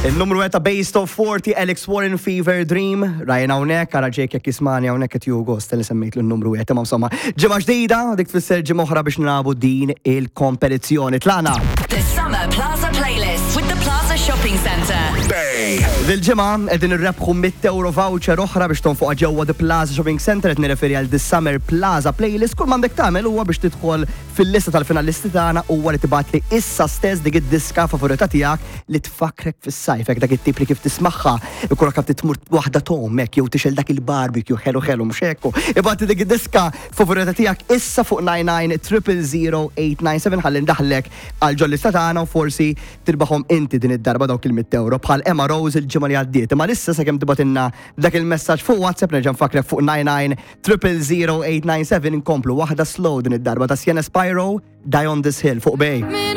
Il-numru ta' Based of 40, Alex Warren, Fever Dream, Ryan hawnhekk, ara Jake jekk jismani hawnhekk qed jieħu gost li semmejt l-numru wieħed, imma insomma, ġimgħa ġdida, dik tfisser ġimgħa oħra biex nilagħbu din il-kompetizzjoni. Tlaqna! The Summer Plaza Playlist with the Plaza Shopping Centre. Dil-ġimgħa qegħdin irrebħu €100 voucher oħra biex tonfoqha ġewwa The Plaza Shopping Centre. Qed nirreferi għal The Summer Plaza Playlist. Kull m'għandek tagħmel huwa biex tidħol fil-lista tal-finalisti tagħna huwa li tibgħatli issa stess dik id-diska favorita tiegħek li tfakkrek fis-sajf, hekk dak it-tip li kif tismagħha ikollok taf tmur waħda t'ommok jew tixgħel dak il-barbecue ħelu ħelu, mhux hekk? Ibgħatli dik id-diska favorita tiegħek issa fuq 99 000 897 ħalli ndaħlek għal ġol-lista tagħna u forsi tirbaħhom inti din id-darba dawk il-€100 bħal Emma Rose il-ġimgħa li għaddiet. Imma issa sakemm tibgħatilna dak il-messaġġ fuq WhatsApp, nerġa' nfakkrek fuq 99 000 897, nkomplu waħda slow din id-darba ta' Sienna Spiro, "Die on This Hill" fuq Bay.